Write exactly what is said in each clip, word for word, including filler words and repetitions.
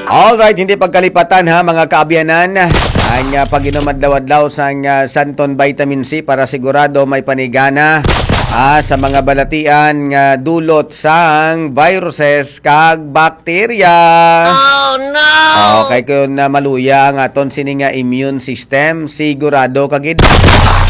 Alright, hindi pagkalipatan ha, mga kaabyanan, ang ah, pag-inom adlaw-adlaw sang ah, Santon Vitamin C para sigurado may panigana ah, sa mga balatian nga dulot sang viruses kag bakterya. Oh no! Okay, kung na maluya ang aton sini nga immune system, sigurado ka gid.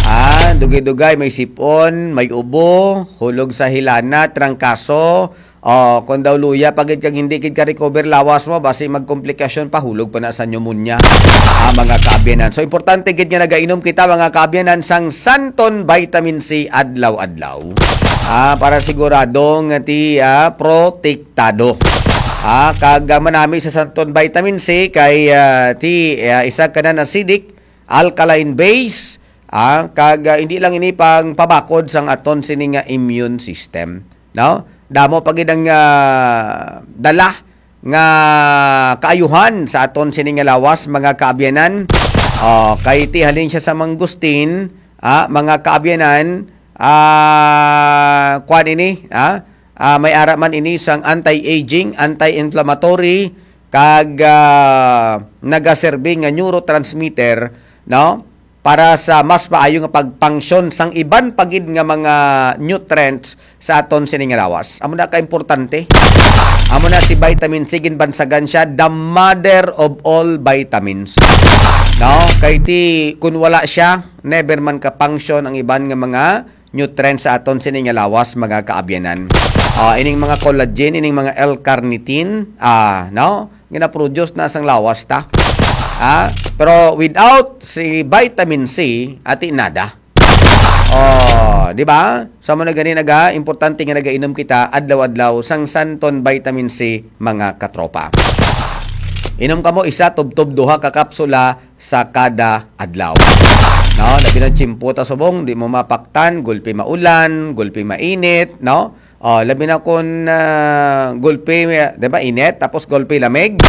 Ah, dugay-dugay may sipon, may ubo, hulog sa hilana, trangkaso, oh, kung daw luya pa gid kag hindi gid ka recover lawas mo, basi magkomplikasyon pa, hulog pa na sa pneumonia. Ah, mga kaabyanan. So importante gid nga nagainom kita, mga kaabyanan, sang Santon Vitamin C adlaw-adlaw. Ah, para sigurado nga ti ah, protektado. Ah, kag ah, manami sa Santon Vitamin C kay ah, ti ah, isa ka na acidic, alkaline base, ah, kag ah, hindi lang ini pang pabakod sang aton sini nga immune system, no? Damo pa gid ang ah, dala nga kaayuhan sa aton sini nga lawas, mga kaabyanan. Oh, kay ti halin siya sa mangustin, ah, mga kaabyanan, ah, kuan ini, ah, ah, may ara man ini sang anti-aging, anti-inflammatory, kag ah, nagaserbi nga neurotransmitter, no? Para sa mas maayo nga pagpangsyon sang iban pa gid nga mga nutrients sa aton sini nga lawas. Amo na ka importante. Amo na si vitamin C, ginbansagan siya the mother of all vitamins. No? Kay ti kun wala siya, never man ka function ang iban nga mga nutrients sa aton sini nga lawas, mga kaabyanan. Ah, ining mga collagen, ining mga L-carnitine, ah, no? Gina-produce na sang lawas ta. Ah, pero without si vitamin C, ati nada. Oh, di ba? Sa mo na gani naga, importante nga nagainom kita adlaw-adlaw sang Santon Vitamin C, mga katropa. Inom kamo isa, tubtob duha ka kapsula sa kada adlaw. No, labi na tiyempo ta subong, di mo mapaktan, gulpi maulan, gulpi mainit, no? Oh, labi na kun ah, gulpi, di ba, init, tapos gulpi lamig.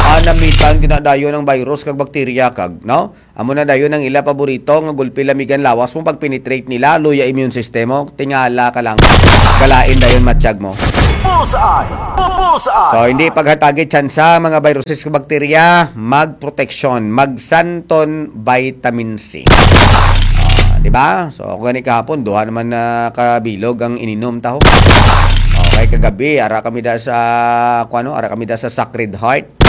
Ah, namitan gina dayon ang virus kag bakterya kag, no? Amo na dayon ang ila paborito nga gulpi lamigan lawas mo pag penetrate nila, luya immune system mo, tingala ka lang. Galain dayon matsyag mo. Bullseye! Bu- Bullseye! So, hindi paghatagi tsansa mga viruses ug bakterya, magproteksyon, magsanton vitamin C. Ah, di ba? So, ako gani kahapon, duha naman na kabilog ang ininom taho. Okay, kagabi, ara kami da sa, kuano, ara kami da sa Sacred Heart.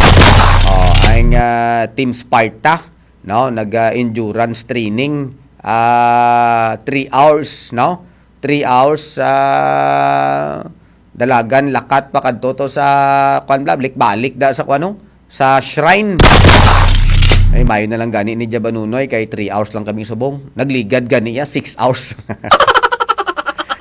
Oh, ang ah, Team Sparta, no, nag ah, endurance training, ah, three hours, no? Three hours sa dalagan, lakat pa kadto to sa, kuan, bla, balik-balik da sa, kuano, sa shrine. Ay, mayo na lang gani ni Jabanunoy kay three hours lang kami subong. Nagligad gani ya, six hours.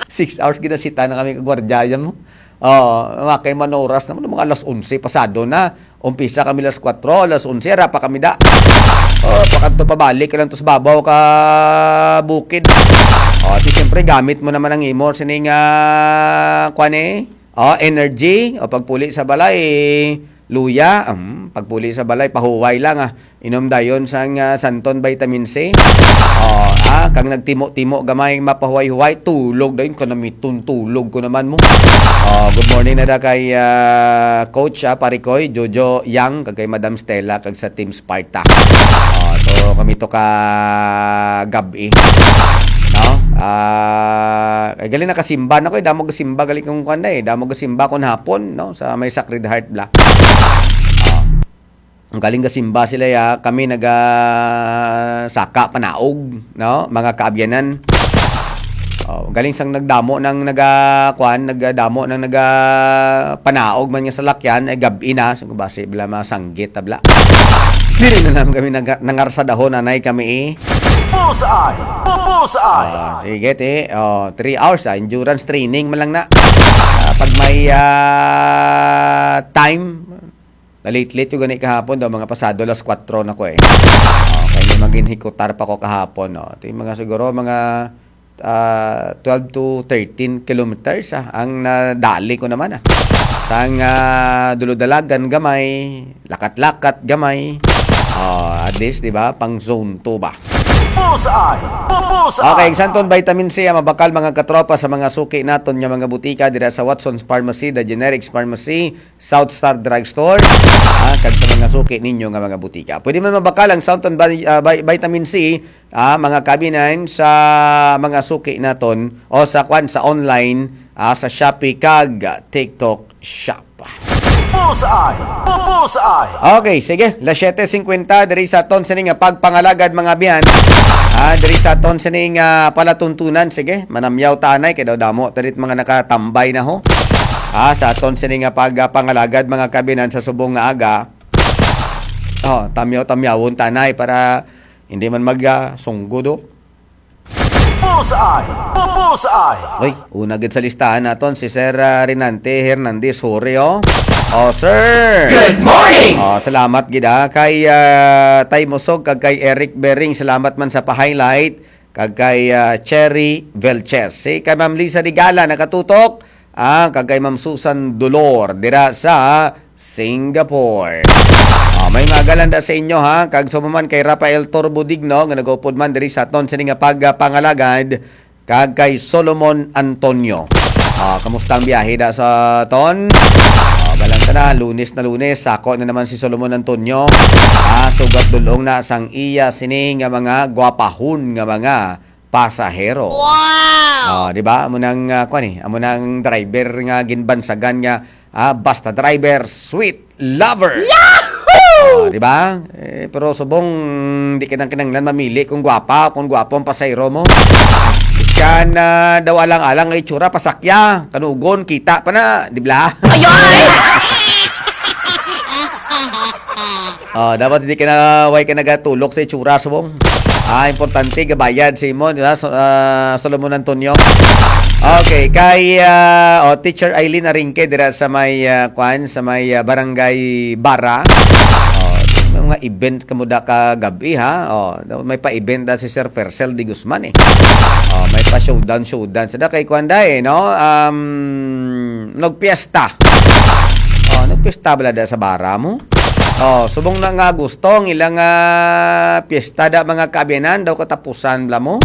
Six hours ginasita na kami kagwardya yan mo. Oh, mga kay manoras naman, mga alas onse pasado na. Umpisa kami alas kwatro, alas onse, ara pa kami da. Oh, pakadto pabalik ka lang to sa babaw ka bukid. Oh, di siyempre gamit mo naman ang imo sining ah, kwan eh. Oh, energy, o pagpuli sa balay, luya, um, pagpuli sa balay, pahuway lang ah. Inom dayon sang ah, Santon Vitamin C. Oh, ah, kang nagtimo-timo gamay mapahuway-huway, tulog dayon, kanamiton tulog ko naman mo. Oh, good morning na da kay ah, Coach ah, Parikoy, Jojo Yang, kag kay Madam Stella, kag sa Team Sparta. Oh, so kami to ka gabi, no? Ah, ay, galing nakasimba na ko eh. Damo gasimba galing kong kwan na eh. Damo gasimba kung hapon, no? Sa may Sacred Heart bla. Oh. Ang galing gasimba sila ya, kami naga saka panaog, no? Mga kaabyanan. Oh, galing sang nagdamo nang naga kwan, nagdamo nang naga panaog man nga salakyan, ay gabi na, so basi bla masanggit ta bla. Dili na naman kami naga, nangarsadahon, anay kami eh. Bullseye! Bu- Bullseye! Ah, sige, ti. Oh, three hours ah, endurance training man lang na. Ah, pag may ah, time, na-late-late yung gani kahapon daw, mga pasado alas kwatro na ko eh. Okay, may magin hikutar pa ko kahapon, no? Ito yung mga siguro, mga ah, twelve to thirteen kilometers ah, ang nadali ko naman ah. Sang ah, duludalagan gamay, lakat-lakat gamay. Oh, at least, di ba, pang zone two ba? Bullseye! Bu- Bullseye! Okay, ang Santon Vitamin C ang mabakal, mga katropa, sa mga suki naton nga mga butika dira sa Watson's Pharmacy, The Generics Pharmacy, South Star Drugstore, ah, kag sa mga suki ninyo nga mga butika. Pwede man mabakal ang Santon Vi- ah, Vi- Vitamin C, ah, mga kabinan, sa mga suki naton o sa kwan, sa online, ah, sa Shopee kag TikTok Shop. Bullseye! Bu- Bullseye! Okay, sige. Las siyete cincuenta diri sa aton sini nga pagpangalagad, mga abyan. Ah, diri sa aton sini nga palatuntunan, sige. Manamyaw ta anay kay daw damo ta dit mga nakatambay na ho. Ah, sa aton sini nga pagpangalagad, mga kabinan, sa subong nga aga. Oh, tamyaw-tamyawon ta anay para hindi man mag ah, sunggod, oh. Bullseye! Bu- Bullseye! Oy, una gid sa listahan naton si Sir ah, Renante Hernandez Hore, oh. Oh, sir. Good morning! Oh, salamat gid ah kay ah, Tay Musog kag kay Eric Bering, salamat man sa pa-highlight, kag kay ah, Cherry Velches. Si kay Ma'am Lisa Digala nakatutok, ah, kag kay Ma'am Susan Dolor dira sa Singapore. Ah, may mga galanda sa inyo ha, kag sa man kay Rafael Torbo Digno nga nagaupod man diri sa aton sini nga pagpangalagad, kag kay Solomon Antonio. Ah, kamusta ang biyahe da sa ton? Ah, galanta na, Lunes na Lunes, sako na naman si Solomon Antonio. Ah, sugat dulong na sang iya sini nga mga gwapahon nga mga pasahero. Wow! Ah, di ba? Amo nang ah, kwan eh, amo nang driver nga ginbansagan nga ah, basta driver, sweet lover. Yahoo! Oh, di ba? Eh, pero subong, di ka nang kinanglan mamili kung gwapa o kung gwapo ang pasahero mo. Siya na daw alang-alang nga itsura, pasakya, kanugon, kita pa na, di ba? Ayoy! Oh, dapat hindi ka na, way ka nagatulok sa itsura, subong. Ah, importante, gabayad sa imo, di ba? So, ah, Solomon Antonio. Okay, kay ah, oh, Teacher Eileen Arinque dira sa may ah, kwan, sa may ah, Barangay Bara. Oh, may mga event kamo da ka gabi ha. Oh, may pa-event da si Sir Fercel de Guzman eh. Oh, may pa showdown showdown sa da kay kwan da eh, no? Um, nagpiesta. Oh, nagpiesta bala da sa Bara mo? Oh, subong na nga gusto ang ilang ah, piyesta da mga kaabyanan daw katapusan bala mo.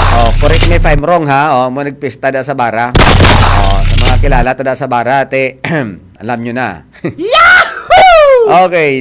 Oh, correct me if I'm wrong ha. Oh, mo nagpiyesta da sa Bara. Oh, sa mga kilala ta da sa Bara, te, alam nyo na. Yahoo! Okay,